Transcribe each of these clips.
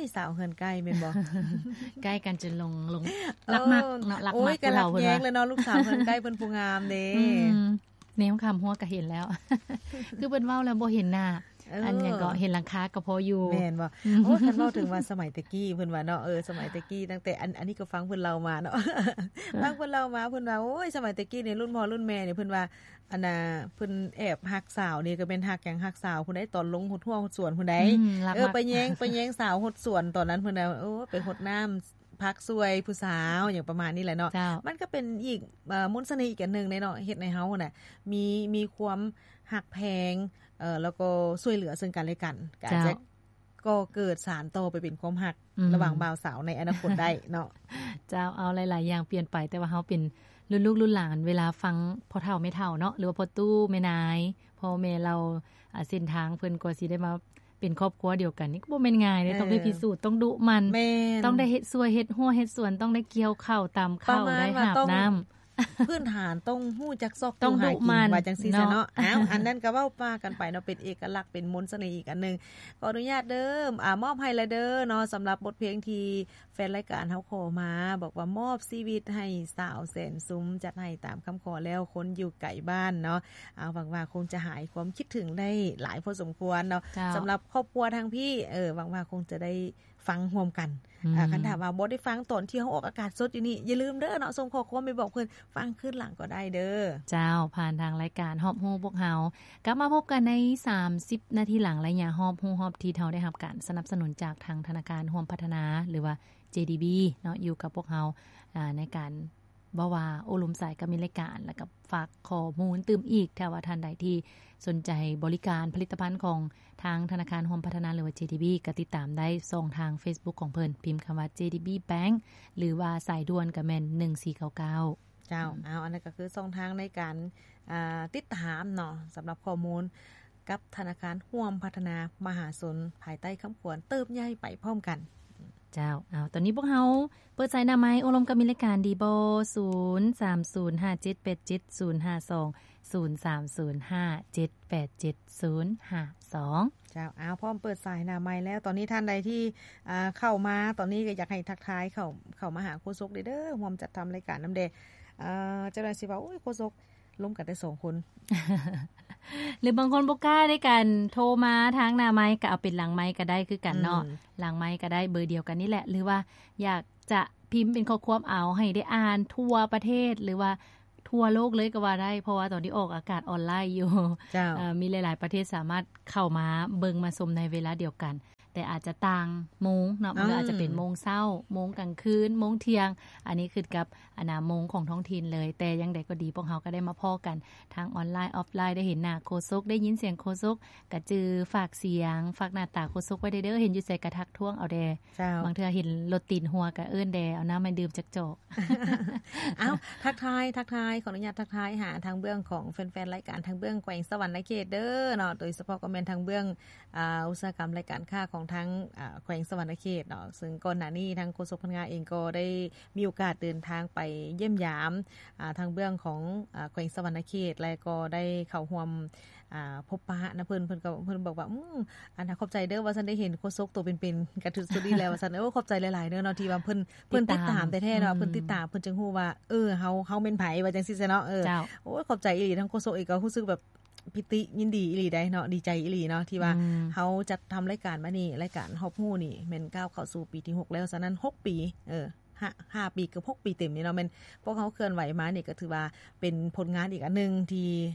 ຍ ສາວເຮືອນໃກ້ແມ່ນບໍ່? ໃກ້ກັນຈົນຫຼົງ ຫຼົງ ເອີ ລັກມັກເນາະ ລັກມັກ ໂອ້ຍ ກໍລັກແຍງແລ້ວເນາະ ລູກສາວເຮືອນໃກ້ເພິ່ນຜູ້ງາມເດ້. ອືມ ແນມຂ້າມຮົ້ວກໍເຫັນແລ້ວ ຄືເພິ່ນເວົ້າແລ້ວບໍ່ເຫັນໜ້າ ເອີ ອັນຫຍັງກໍເຫັນຫຼັງຄາກໍພໍຢູ່ ແມ່ນບໍ່? ໂອ້ ຄັນເວົ້າເຖິງວ່າສະໄໝແຕ່ກີ້ເພິ່ນວ່າເນາະ ເອີ ສະໄໝແຕ່ກີ້ ຕັ້ງແຕ່ ອັນ ອັນນີ້ກໍຟັງເພິ່ນເລົ່າມາເນາະ ຟັງເພິ່ນເລົ່າມາ ເພິ່ນວ່າ ໂອ້ຍ ສະໄໝແຕ່ກີ້ນີ້ ລຸ້ນພໍ່ລຸ້ນແມ່ນີ້ ເພິ່ນວ່າ ອັນນ່າ ເພິ່ນແອບຮັກສາວນີ້ ກໍແມ່ນຮັກຫຍັງ ຮັກສາວພຸ້ນໃດ໋ ຕອນລົງຫົດຮົ້ວຫົດສວນພຸ້ນໃດ໋ ເອີ ໄປແຍງ ໄປແຍງສາວຫົດສວນຕອນນັ້ນພຸ້ນນະ ໂອ້ ໄປຫົດນ້ຳ ພັກຊ່ວຍຜູ້ສາວ ຫຍັງປະມານນີ້ແຫຼະເນາະ ເຈົ້າ ມັນກໍເປັນອີກ ເອີ ມົນສະເໜ່ອີກອັນໜຶ່ງເດ້ເນາະ ເຮັດໃຫ້ເຮົານະ ມີ ມີຄວາມຮັກແພງ ເອີ ແລ້ວກໍຊ່ວຍເຫຼືອເຊິ່ງກັນແລະກັນ ກໍອາດຈະ ເຈົ້າ ກໍເກີດສານຕໍ່ໄປເປັນຄວາມຮັກ ອືມ ລະຫວ່າງບ່າວສາວໃນອະນາຄົດໄດ້ເນາະ ເຈົ້າ ເອົາ ຫຼາຍໆຢ່າງປ່ຽນໄປ ແຕ່ວ່າເຮົາເປັນລຸ້ນລູກລຸ້ນຫຼານ ເວລາຟັງພໍ່ເຖົ້າແມ່ເຖົ້າເນາະ ຫຼືວ່າພໍ່ຕູ້ແມ່ນາຍ ພໍ່ແມ່ເລົ່າ ອາ ເສັ້ນທາງເພິ່ນກວ່າຊິໄດ້ມາ ເປັນຄອບຄົວດຽວກັນນີ້ກໍບໍ່ແມ່ນງ່າຍເດ້ ເອີ ຕ້ອງໄດ້ພິສູດ ຕ້ອງດຸໝັ່ນ ແມ່ນ ຕ້ອງໄດ້ເຮັດສວນ ເຮັດຮົ້ວ ເຮັດສວນ ຕ້ອງໄດ້ກ່ຽວເຂົ້າ ຕຳເຂົ້າ ໄດ້ຫາບນ້ຳ ປະມານວ່າຕ້ອງ ພື້ນຖານຕ້ອງຮູ້ຈັກຊອກ ຕ້ອງດຸໝັ່ນ ຫາກິນ ວ່າຈັ່ງຊີ້ຊະເນາະ ເນາະ ອ້າວ ອັນນັ້ນກໍເວົ້າວ່າກັນໄປເນາະ ເປັນເອກະລັກ ເປັນມົນສະເໜ່ອີກອັນໜຶ່ງ ຂໍອະນຸຍາດເດີ ອາ ມອບໃຫ້ລະເດີເນາະ ສຳລັບບົດເພງທີ່ ແຟນລາຍການເຮົາຂໍມາ ບອກວ່າມອບຊີວິດໃຫ້ສາວແສນຊຸມ ຈັດໃຫ້ຕາມຄຳຂໍແລ້ວ ຄົນຢູ່ໄກບ້ານເນາະ ອາ ຫວັງວ່າຄົງຈະຫາຍຄວາມຄິດເຖິງໄດ້ຫຼາຍພໍສົມຄວນເນາະ ເຈົ້າ ສຳລັບຄອບຄົວທາງພີ້ ເອີ ຫວັງວ່າຄົງຈະໄດ້ຟັງຮ່ວມກັນ ອືມ ອາ ຄັນຖ້າວ່າບໍ່ໄດ້ຟັງຕອນທີ່ເຮົາອອກອາກາດສົດຢູ່ນີ້ ຢ່າລືມເດີເນາະ ສົ່ງຂໍ້ຄວາມໄປບອກເພິ່ນ ຟັງຄືນຫຼັງກໍໄດ້ເດີ ເຈົ້າ ຜ່ານທາງລາຍການຮອບຮູ້ພວກເຮົາ ກັບມາພົບກັນໃນສາມສິບນາທີຫຼັງ ໄລຍະຮອບຮູ້ຮອບທິດ ເຮົາໄດ້ຮັບການສະໜັບສະໜູນຈາກທາງທະນາຄານຮ່ວມພັດທະນາ ຫຼືວ່າ ເຈດີບີ ເນາະ ຢູ່ກັບພວກເຮົາ ອາ ໃນການເວົ້າວ່າໂອ້ລົມສາຍການມີລາຍການ ແລ້ວກໍຝາກຂໍ້ມູນຕື່ມອີກ ຖ້າວ່າທ່ານໃດທີ່ສົນໃຈບໍລິການຜະລິດຕະພັນຂອງທາງທະນາຄານຮ່ວມພັດທະນາ ຫຼືວ່າ ເຈດີບີ ກໍຕິດຕາມໄດ້ຊ່ອງທາງເຟສບຸກຂອງເພິ່ນ ພິມຄຳວ່າ ເຈດີບີ Bank ຫຼືວ່າສາຍດ່ວນກໍແມ່ນ ໜຶ່ງສີ່ເກົ້າເກົ້າ ເຈົ້າ ອືມ ເອົາ ອັນນັ້ນກໍຄືຊ່ອງທາງໃນການ ອ່າ ຕິດຕາມເນາະ ສຳລັບຂໍ້ມູນກັບທະນາຄານຮ່ວມພັດທະນາມະຫາຊົນ ພາຍໃຕ້ຄຳຂວັນເຕີບໃຫຍ່ໄປພ້ອມກັນ ເຈົ້າ ເອົາ ຕອນນີ້ພວກເຮົາເປີດສາຍໜ້າໄມໂອ້ລົມກັບມິດລາຍການດີບໍ່? ສູນສາມສູນຫ້າເຈັດແປດເຈັດສູນຫ້າສອງ ສູນສາມສູນຫ້າເຈັດແປດເຈັດສູນຫ້າສອງ ເຈົ້າ ເອົາ ພ້ອມເປີດສາຍໜ້າໄມແລ້ວ ຕອນນີ້ທ່ານໃດທີ່ ອ່າ ເຂົ້າມາຕອນນີ້ກໍຢາກໃຫ້ທັກທາຍເຂົ້າ ເຂົ້າມາຫາໂຄສົກເດີ ເດີ ຮ່ວມຈັດທຳລາຍການນຳແດ່ ເຈົ້າໜ້າທີ່ຊິວ່າ ໂອ້ຍ ໂຄສົກລົມກັນແຕ່ສອງຄົນ ຫຼືບາງຄົນບໍ່ກ້າໃນການໂທມາທາງໜ້າໄມ ກໍເອົາເປັນຫຼັງໄມກໍໄດ້ຄືກັນເນາະ ອືມ ຫຼັງໄມກໍໄດ້ ເບີດຽວກັນນີ້ແຫຼະ ຫຼືວ່າຢາກຈະພິມເປັນຂໍ້ຄວາມເອົາ ໃຫ້ໄດ້ອ່ານທົ່ວປະເທດ ຫຼືວ່າທົ່ວໂລກເລີຍກໍວ່າໄດ້ ເພາະວ່າຕອນນີ້ອອກອາກາດອອນລາຍຢູ່ ເຈົ້າ ເອີ ມີຫຼາຍໆປະເທດສາມາດເຂົ້າມາເບິ່ງມາຊົມໃນເວລາດຽວກັນ ແຕ່ອາດຈະຕ່າງໂມງເນາະ ມັນກໍອາດຈະເປັນ ອືມ ໂມງເຊົ້າ ໂມງກາງຄືນ ໂມງທ່ຽງ ອັນນີ້ຂຶ້ນກັບ ອັນນ່າ ໂມງຂອງທ້ອງຖິ່ນເລີຍ ແຕ່ຢ່າງໃດກໍດີ ພວກເຮົາກໍໄດ້ມາພໍ້ກັນທາງອອນລາຍ ອອຟລາຍ ໄດ້ເຫັນໜ້າໂຄສົກ ໄດ້ຍິນສຽງໂຄສົກ ກະຈື່ຝາກສຽງ ຝາກໜ້າຕາໂຄສົກໄວ້ແດ່ເດີ ເຫັນຢູ່ໃສກະທັກທ້ວງເອົາແດ່ ເຈົ້າ ບາງເທື່ອເຫັນລົດຕີນຫົວກະເອີ້ນແດ່ ເອົານ້ຳໃຫ້ດື່ມຈັກຈອກ ເອົ້າ ທັກທາຍ ທັກທາຍ ຂໍອະນຸຍາດທັກທາຍຫາທາງເບື້ອງຂອງແຟນໆລາຍການ ທາງເບື້ອງແຂວງສະຫວັນນະເຂດເດີເນາະ ໂດຍສະເພາະກໍແມ່ນທາງເບື້ອງ ອ່າ ອຸດສາຫະກຳລາຍການຄ້າຂອງທາງ ອ່າ ແຂວງສະຫວັນນະເຂດເນາະ ເຊິ່ງກ່ອນໜ້ານີ້ທາງໂຄສົກພັນງາເອງກໍໄດ້ມີໂອກາດເດີນທາງໄປຢ້ຽມຢາມ ອ່າ ທາງເບື້ອງຂອງ ອ່າ ແຂວງສະຫວັນນະເຂດ ແລະກໍໄດ້ເຂົ້າຮ່ວມ ອ່າ ພົບປະນຳເພິ່ນ ເພິ່ນກໍ ເພິ່ນບອກວ່າ ອືມ ອັນນ່າ ຂອບໃຈເດີ ວ່າຊັ້ນ ໄດ້ເຫັນໂຄສົກໂຕເປັນໆ ກະຖືກສຸດດີແລ້ວ ວ່າຊັ້ນ ໂອ້ ຂອບໃຈຫຼາຍໆເດີເນາະ ທີ່ວ່າເພິ່ນ ເພິ່ນຕິດຕາມແທ້ໆເນາະ ອືມ ເພິ່ນຕິດຕາມ ເພິ່ນຈຶ່ງຮູ້ວ່າ ເອີ ເຮົາ ເຮົາແມ່ນໃຜ ວ່າຈັ່ງຊີ້ຊະເນາະ ເອີ ເຈົ້າ ໂອ້ຍ ຂອບໃຈອີ່ຫຼີ ທາງໂຄສົກເອງກໍຮູ້ສຶກແບບ ປີຕິຍິນດີອີ່ຫຼີໃດ໋ເນາະ ດີໃຈອີ່ຫຼີເນາະ ທີ່ວ່າ ອືມ ເຮົາຈັດທຳລາຍການມານີ້ ລາຍການຮອບຮູ້ນີ້ແມ່ນກ້າວເຂົ້າສູ່ປີທີຫົກແລ້ວ ສະນັ້ນຫົກປີ ເອີ ຫ້າ ຫ້າປີ ເກືອບຫົກປີເຕັມນີ້ເນາະ ແມ່ນພວກເຮົາເຄື່ອນໄຫວມານີ້ ກໍຖືວ່າເປັນຜົນງານອີກອັນໜຶ່ງທີ່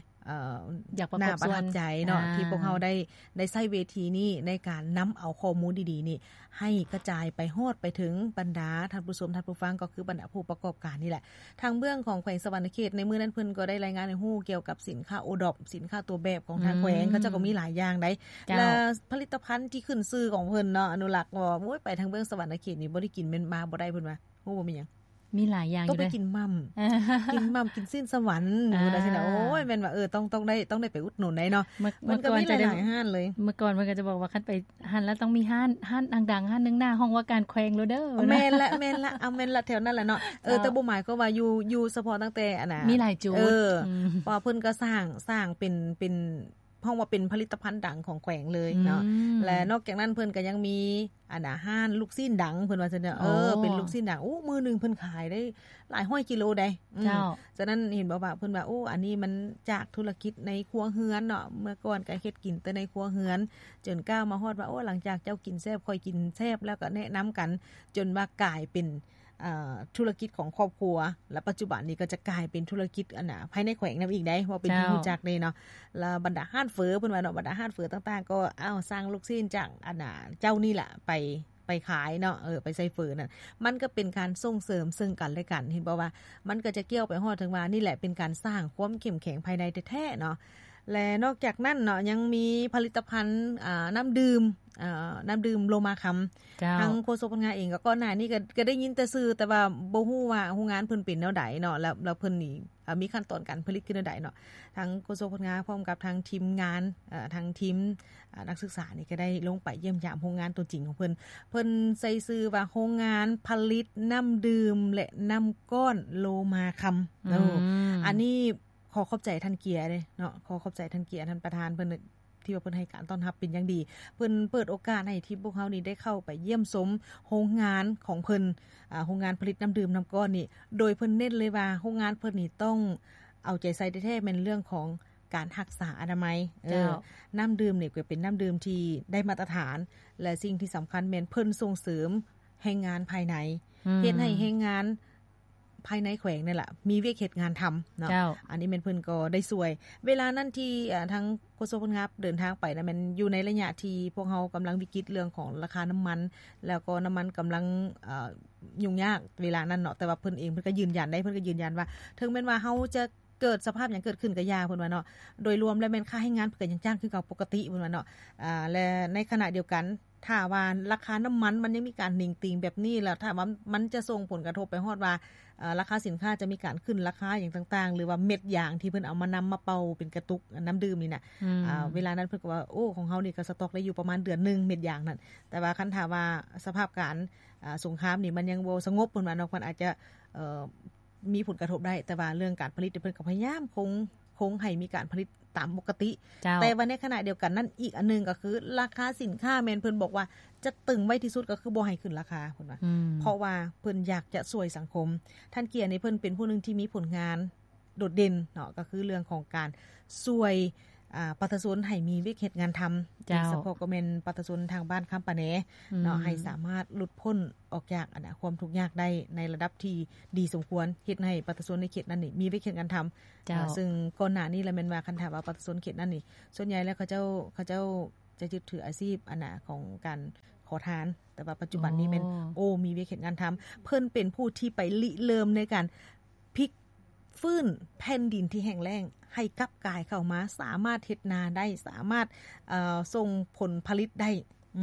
ເອີ ຢາກປະກອບສ່ວນ ໜ້າປະທັບໃຈເນາະ ອ່າ ທີ່ພວກເຮົາໄດ້ ໄດ້ໃຊ້ເວທີນີ້ໃນການນຳເອົາຂໍ້ມູນດີໆນີ້ ໃຫ້ກະຈາຍໄປຮອດໄປເຖິງບັນດາທ່ານຜູ້ຊົມທ່ານຜູ້ຟັງ ກໍຄືບັນດາຜູ້ປະກອບການນີ້ແຫຼະ ທາງເບື້ອງຂອງແຂວງສະຫວັນນະເຂດ ໃນມື້ນັ້ນເພິ່ນກໍໄດ້ລາຍງານໃຫ້ຮູ້ກ່ຽວກັບສິນຄ້າໂອດອບ ສິນຄ້າຕົວແບບຂອງທາງແຂວງ ອືມ ເຂົາເຈົ້າກໍມີຫຼາຍຢ່າງໃດ໋ ເຈົ້າ ແລະ ຜະລິດຕະພັນທີ່ຂຶ້ນຊື່ຂອງເພິ່ນເນາະ ອະນຸລັກ ໂອ້ຍ ໄປທາງເບື້ອງສະຫວັນນະເຂດນີ້ບໍ່ໄດ້ກິນແມ່ນມາບໍ່ໄດ້ເພິ່ນວ່າ ຮູ້ບໍ່ແມ່ນຫຍັງ ມີຫຼາຍຢ່າງຢູ່ເດ້ ຕ້ອງໄປກິນໝ່ຳ ເອີ ກິນໝ່ຳ ກິນຊີ້ນສະຫວັນ ອ່າ ຢູ່ຈັ່ງຊີ້ນະ ໂອ້ຍ ແມ່ນວ່າ ເອີ ຕ້ອງ ຕ້ອງໄດ້ ຕ້ອງໄດ້ໄປອຸດໜູນໄດ໋ເນາະ ເມື່ອ ເມື່ອກ່ອນຈະໄດ້ ມັນກໍມີຫຼາຍໆຮ້ານເລີຍ ເມື່ອກ່ອນເພິ່ນກໍຈະບອກວ່າ ຄັນໄປ ຫັ້ນລະຕ້ອງມີຮ້ານ ຮ້ານດັງໆຮ້ານໜຶ່ງໜ້າຫ້ອງວ່າການແຂວງໂລດເດີ ແມ່ນລະ ແມ່ນລະ ເອົາແມ່ນລະ ແຖວນັ້ນລະເນາະ ເອີ ເຈົ້າ ແຕ່ບໍ່ໝາຍຄວາມວ່າຢູ່ ຢູ່ສະເພາະຕັ້ງແຕ່ອັນນ່າ ມີຫຼາຍຈຸດ ເອີ ອືມ ເພາະວ່າເພິ່ນກໍສ້າງ ສ້າງເປັນ ເປັນ ຮ້ອງວ່າເປັນຜະລິດຕະພັນດັງຂອງແຂວງເລີຍເນາະ. ອືມ ແລະນອກຈາກນັ້ນເພິ່ນກໍຍັງມີ ອັນນ່າ ຮ້ານລູກຊີ້ນດັງ ເພິ່ນວ່າຊັ້ນເນາະ. ອໍ ເອີ ເປັນລູກຊີ້ນດັງ ໂອ້ ມື້ໜຶ່ງເພິ່ນຂາຍໄດ້ຫຼາຍຮ້ອຍກິໂລໃດ໋. ອືມ ເຈົ້າ ສະນັ້ນເຫັນບອກວ່າ ເພິ່ນວ່າ ໂອ້ ອັນນີ້ມັນຈາກທຸລະກິດໃນຄົວເຮືອນເນາະ, ເມື່ອກ່ອນກໍເຮັດກິນແຕ່ໃນຄົວເຮືອນ ຈົນກ້າວມາຮອດວ່າ ໂອ້ ຫຼັງຈາກເຈົ້າກິນແຊບ ຂ້ອຍກິນແຊບ ແລ້ວກໍແນະນຳກັນ ຈົນວ່າກາຍເປັນ ເອີ ທຸລະກິດຂອງຄອບຄົວ ແລະ ປັດຈຸບັນນີ້ກໍຈະກາຍເປັນທຸລະກິດ ອັນນ່າ ພາຍໃນແຂວງນຳອີກໄດ໋ ເວົ້າເປັນທີ່ ເຈົ້າ ຮູ້ຈັກເດ້ເນາະ. ແລ້ວບັນດາຮ້ານເຝີ ເພິ່ນວ່າເນາະ, ບັນດາຮ້ານເຝີຕ່າງໆ ກໍເອົາສັ່ງລູກຊີ້ນຈາກ ອັນນ່າ ເຈົ້ານີ້ລະໄປ ໄປຂາຍເນາະ, ເອີ ໄປໃສ່ເຝີນັ້ນ. ມັນກໍເປັນການສົ່ງເສີມເຊິ່ງກັນແລະກັນ, ເຫັນບໍ່ວ່າມັນກໍຈະກ່ຽວໄປຮອດເຖິງວ່າ ນີ້ແຫຼະເປັນການສ້າງຄວາມເຂັ້ມແຂງພາຍໃນແທ້ໆເນາະ. ແລະນອກຈາກນັ້ນເນາະ ຍັງມີຜະລິດຕະພັນ ອ່າ ນ້ຳດື່ມ ເອີ ນ້ຳດື່ມໂລມາຄຳ. ເຈົ້າ ທາງໂຄສົກພັນງາເອງກໍກ່ອນໜ້ານີ້ກໍ ກໍໄດ້ຍິນແຕ່ຊື່ ແຕ່ວ່າບໍ່ຮູ້ວ່າໂຮງງານເພິ່ນເປັນແນວໃດເນາະ ແລ້ວ ແລ້ວເພິ່ນນີ້ ເອີ ມີຂັ້ນຕອນການຜະລິດຄືແນວໃດເນາະ. ທາງໂຄສົກພັນງາພ້ອມກັບທາງທີມງານ ເອີ ທາງທີມ ເອີ ນັກສຶກສານີ້ກໍໄດ້ລົງໄປຢ້ຽມຢາມໂຮງງານຕົວຈິງຂອງເພິ່ນ. ເພິ່ນໃສ່ຊື່ວ່າໂຮງງານຜະລິດນ້ຳດື່ມ ແລະ ນ້ຳກ້ອນໂລມາຄຳ. ອືມ ໂອ້ ອັນນີ້ ຂໍຂອບໃຈທ່ານເກຍເດ້ເນາະ, ຂໍຂອບໃຈທ່ານເກຍ ທ່ານປະທານເພິ່ນ ທີ່ວ່າເພິ່ນໃຫ້ການຕ້ອນຮັບເປັນຢ່າງດີ. ເພິ່ນເປີດໂອກາດໃຫ້ທີ່ພວກເຮົານີ້ໄດ້ເຂົ້າໄປຢ້ຽມຊົມໂຮງງານຂອງເພິ່ນ ອາ ໂຮງງານຜະລິດນ້ຳດື່ມນ້ຳກ້ອນນີ້, ໂດຍເພິ່ນເນັ້ນເລີຍວ່າໂຮງງານເພິ່ນນີ້ຕ້ອງເອົາໃຈໃສ່ແທ້ໆ ແມ່ນເລື່ອງຂອງການຮັກສາອະນາໄມ. ເອີ ເຈົ້າ ນ້ຳດື່ມນີ້ກໍເປັນນ້ຳດື່ມທີ່ໄດ້ມາດຕະຖານ ແລະ ສິ່ງທີ່ສຳຄັນແມ່ນເພິ່ນສົ່ງເສີມແຮງງານພາຍໃນ ອືມ ເຮັດໃຫ້ແຮງງານ ພາຍໃນແຂວງນີ້ແຫຼະ ມີວຽກເຮັດງານທຳເນາະ. ເຈົ້າ ອັນນີ້ແມ່ນເພິ່ນກໍໄດ້ຊ່ວຍ ເວລານັ້ນທີ່ ເອີ ທາງໂຄສົກເພິ່ນຮັບເດີນທາງໄປນະ ແມ່ນຢູ່ໃນໄລຍະທີ່ພວກເຮົາກຳລັງວິກິດເລື່ອງຂອງລາຄານ້ຳມັນ ແລ້ວກໍນ້ຳມັນກຳລັງ ເອີ ຫຍຸ້ງຍາກເວລານັ້ນເນາະ. ແຕ່ວ່າເພິ່ນເອງເພິ່ນກໍຢືນຢັນໄດ້ ເພິ່ນກໍຢືນຢັນວ່າ ເຖິງແມ່ນວ່າເຮົາຈະເກີດສະພາບຫຍັງເກີດຂຶ້ນກໍຢ່າ ເພິ່ນວ່າເນາະ, ໂດຍລວມແລ້ວແມ່ນຄ່າແຮງງານເພິ່ນກໍຍັງຈ້າງຄືເກົ່າປົກກະຕິ ເພິ່ນວ່າເນາະ. ອາ ແລະ ໃນຂະນະດຽວກັນ ຖ້າວ່າລາຄານ້ຳມັນມັນຍັງມີການໜິງຕີງແບບນີ້ ແລ້ວຖ້າວ່າມັນຈະສົ່ງຜົນກະທົບໄປຮອດວ່າ ເອີ ລາຄາສິນຄ້າຈະມີການຂຶ້ນລາຄາຫຍັງຕ່າງໆ ຫຼືວ່າເມັດຢາງທີ່ເພິ່ນເອົາມານຳມາເປົ່າເປັນກະຕຸກນ້ຳດື່ມນີ້ນະ ອືມ ອາ ເວລານັ້ນເພິ່ນກໍວ່າ ໂອ້ ຂອງເຮົານີ້ກໍສະຕັອກໄດ້ຢູ່ປະມານເດືອນໜຶ່ງເມັດຢາງນັ້ນ, ແຕ່ວ່າຄັນຖ້າວ່າສະພາບການ ອາ ສົງຄາມນີ້ມັນຍັງບໍ່ສະຫງົບ ເພິ່ນວ່າເນາະ ເພິ່ນອາດຈະ ເອີ ມີຜົນກະທົບໄດ້, ແຕ່ວ່າເລື່ອງການຜະລິດເພິ່ນກໍພະຍາຍາມຄົງ ຄົງໃຫ້ມີການຜະລິດຕາມປົກກະຕິ. ເຈົ້າ ແຕ່ວ່າໃນຂະນະດຽວກັນນັ້ນ ອີກອັນໜຶ່ງກໍຄືລາຄາສິນຄ້າແມ່ນເພິ່ນບອກວ່າຈະຕຶງໄວ້ທີ່ສຸດ ກໍຄືບໍ່ໃຫ້ຂຶ້ນລາຄາ ເພິ່ນວ່າ ອືມ ເພາະວ່າເພິ່ນຢາກຈະຊ່ວຍສັງຄົມ. ທ່ານເກຍນີ້ເພິ່ນເປັນຜູ້ໜຶ່ງທີ່ມີຜົນງານໂດດເດັ່ນເນາະ, ກໍຄືເລື່ອງຂອງການຊ່ວຍ ອາ ປະຊາຊົນໃຫ້ມີວຽກເຮັດງານທຳ ເຈົ້າ ໂດຍສະເພາະກໍແມ່ນປະຊາຊົນທາງບ້ານຄຳປາແນ ອືມ ເນາະ ໃຫ້ສາມາດຫຼຸດພົ້ນອອກຈາກ ອັນນະ ຄວາມທຸກຍາກໄດ້ໃນລະດັບທີ່ດີສົມຄວນ, ເຮັດໃຫ້ປະຊາຊົນໃນເຂດນັ້ນນີ້ມີວຽກເຮັດງານທຳ. ເຈົ້າ ເຊິ່ງກ່ອນໜ້ານີ້ລະແມ່ນວ່າ ຄັນຖ້າວ່າປະຊາຊົນເຂດນັ້ນນີ້ ສ່ວນໃຫຍ່ແລ້ວເຂົາເຈົ້າ ເຂົາເຈົ້າຈະຍຶດຖືອາຊີບ ອັນນະ ຂອງການຂໍທານ, ແຕ່ວ່າປັດຈຸບັນນີ້ແມ່ນ ໂອ້ ໂອ້ ມີວຽກເຮັດງານທຳ. ເພິ່ນເປັນຜູ້ທີ່ໄປລິເລີ່ມໃນການພິກຟື້ນແຜ່ນດິນທີ່ແຫ້ງແລ້ງໃຫ້ກັບກາຍເຂົ້າມາ ສາມາດເຮັດນາໄດ້ ສາມາດ ເອີ ສົ່ງຜົນຜະລິດໄດ້.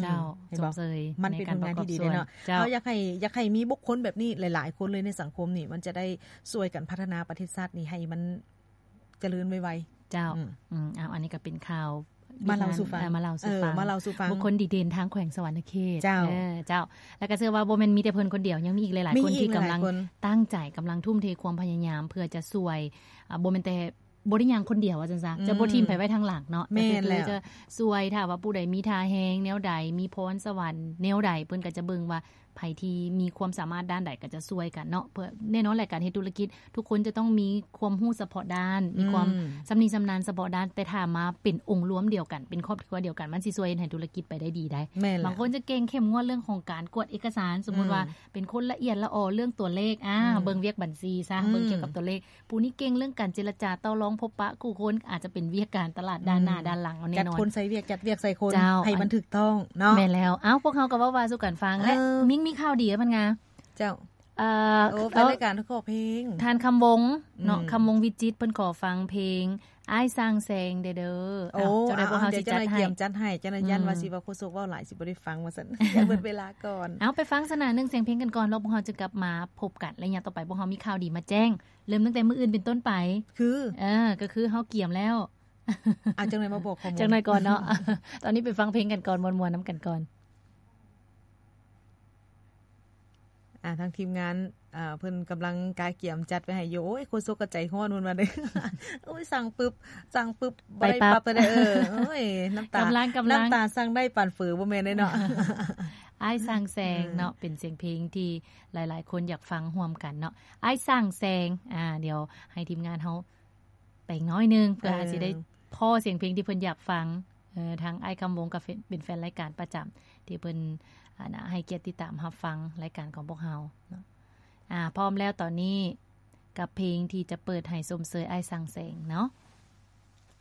ເຈົ້າ ເຫັນບໍ່? ຊົມເຊີຍ ມັນເປັນຜົນງານທີ່ດີເດ້ເນາະ. ເຈົ້າ ເຮົາຢາກໃຫ້ ຢາກໃຫ້ມີບຸກຄົນແບບນີ້ຫຼາຍໆຄົນເລີຍໃນສັງຄົມນີ້ ມັນຈະໄດ້ຊ່ວຍກັນພັດທະນາປະເທດຊາດນີ້ໃຫ້ມັນຈະເລີນໄວໆ. ເຈົ້າ ອືມ ອືມ ເອົາ ອັນນີ້ກໍເປັນຂ່າວມາເລົ່າສູ່ຟັງ ເອີ ມາເລົ່າສູ່ຟັງ ເອີ ມາເລົ່າສູ່ຟັງ ບຸກຄົນດີເດັ່ນທາງແຂວງສະຫວັນນະເຂດ. ເຈົ້າ ເອີ ເຈົ້າ ແລ້ວກໍເຊື່ອວ່າບໍ່ແມ່ນມີແຕ່ເພິ່ນຄົນດຽວ ຍັງມີອີກຫຼາຍໆຄົນທີ່ກຳລັງຕັ້ງໃຈ ກຳລັງທຸ່ມເທຄວາມພະຍາຍາມເພື່ອຈະຊ່ວຍ ອາ ບໍ່ແມ່ນແຕ່ ບໍ່ໄດ້ຍ່າງຄົນດຽວວ່າຊັ້ນຊະ ອືມ ຈະບໍ່ຖິ້ມໃຜໄວ້ທາງຫຼັງເນາະ. ແມ່ນແລ້ວ ກໍຄືຈະຊ່ວຍ ຖ້າວ່າຜູ້ໃດມີທ່າແຮງແນວໃດ ມີພອນສະຫວັນແນວໃດ ເພິ່ນກໍຈະເບິ່ງວ່າໃຜທີ່ມີຄວາມສາມາດດ້ານໃດກໍຈະຊ່ວຍກັນເນາະ. ເພື່ອ ແນ່ນອນແຫຼະ ການເຮັດທຸລະກິດ ທຸກຄົນຈະຕ້ອງມີຄວາມຮູ້ສະເພາະດ້ານ ອືມ ມີຄວາມຊຳນິຊຳນານສະເພາະດ້ານ, ແຕ່ຖ້າມາເປັນອົງລວມດຽວກັນ ເປັນຄອບຄົວດຽວກັນ ມັນຊິຊ່ວຍເຮັດໃຫ້ທຸລະກິດໄປໄດ້ດີໄດ໋. ແມ່ນແລ້ວ ບາງຄົນຈະເກັ່ງເຂັ້ມງວດເລື່ອງຂອງການກວດເອກະສານ ສົມມຸດວ່າ ອືມ ເປັນຄົນລະອຽດລະອໍເລື່ອງຕົວເລກ ອາ ອືມ ເບິ່ງວຽກບັນຊີຊະ ອືມ ເບິ່ງກ່ຽວກັບຕົວເລກ. ຜູ້ນີ້ເກັ່ງເລື່ອງການເຈລະຈາຕໍ່ລອງພົບປະຄູ່ຄົນ ອາດຈະເປັນວຽກການຕະຫຼາດດ້ານໜ້າ ອືມ ດ້ານຫຼັງເອົາແນ່ນອນ ຈັດຄົນໃສ່ວຽກ ຈັດວຽກໃສ່ຄົນ ເຈົ້າ ໃຫ້ມັນຖືກຕ້ອງເນາະ. ແມ່ນແລ້ວ ເອົ້າ ພວກເຮົາກໍເວົ້າວ່າສູ່ກັນຟັງ ແລະ ເອີ ມິງມີຂ່າວດີເພິ່ນງາ ເຈົ້າ ເອີ ໂອ້ ແຟນລາຍການຂໍເພງ ທ່ານຄຳວົງເນາະ ອືມ ຄຳວົງວິຈິດ ເພິ່ນຂໍຟັງເພງ ອ້າຍສ້າງແສງແດ່ເດີ. ໂອ້ ເຈົ້າໃດ ພວກເຮົາຊິຈັດໃຫ້ ຈັດໃຫ້ ຈັດໃຫ້ ຢ້ານວ່າ ອືມ ຊິວ່າໂຄສົກເວົ້າຫຼາຍ ຊິບໍ່ໄດ້ຟັງວ່າຊັ້ນ ຢ້ານເບິດເວລາກ່ອນ. ເອົາ ໄປຟັງສະໜາໜຶ່ງສຽງເພງກັນກ່ອນ ແລ້ວພວກເຮົາຈະກັບມາພົບກັນ ໄລຍະຕໍ່ໄປ ພວກເຮົາມີຂ່າວດີມາແຈ້ງ ເລີ່ມຕັ້ງແຕ່ມື້ອື່ນເປັນຕົ້ນໄປ ຄື ເອີ ກໍຄືເຮົາກຽມແລ້ວ. ອາ ຈັ່ງໜ້ອຍມາບອກຂໍ້ມູນ ຈັ່ງໜ້ອຍກ່ອນເນາະ. ຕອນນີ້ໄປຟັງເພງກັນກ່ອນ ມ່ວນໆນຳກັນກ່ອນ. ອາ ທາງທີມງານ ອ່າ ເພິ່ນກຳລັງກະກຽມຈັດໄວ້ໃຫ້ຢູ່. ໂອ້ຍ ໂຄສົກກໍໃຈຮ້ອນເພິ່ນວ່າເດ້. ໂອ້ຍ ສັ່ງປຶບ ສັ່ງປຶບ ໄປປັບ ບໍ່ໄດ້ປັບເລີຍ. ເອີ ໂອ້ຍ ນ້ຳຕາ ກຳລັງ ກຳລັງ ນ້ຳຕາສັ່ງໄດ້ປານເຝີບໍ່ແມ່ນເດ້ເນາະ. ອ້າຍສ້າງແສງເນາະ ເອີ ເປັນສຽງເພງທີ່ຫຼາຍໆຄົນຢາກຟັງຮ່ວມກັນເນາະ. ອ້າຍສ້າງແສງ ອ່າ ດຽວໃຫ້ທີມງານເຮົາ ໄປໜ້ອຍໜຶ່ງ ເພື່ອ ເອີ ເຮົາຊິໄດ້ພໍ້ສຽງເພງທີ່ເພິ່ນຢາກຟັງ. ເອີ ທາງອ້າຍຄຳວົງກໍເປັນແຟນລາຍການປະຈຳ ທີ່ເພິ່ນ ອັນນະ ໃຫ້ກຽດຕິດຕາມຮັບຟັງລາຍການຂອງພວກເຮົາເນາະ. ອ່າ ພ້ອມແລ້ວຕອນນີ້ ກັບເພງທີ່ຈະເປີດໃຫ້ຊົມເຊີຍອ້າຍສ້າງແສງເນາະ.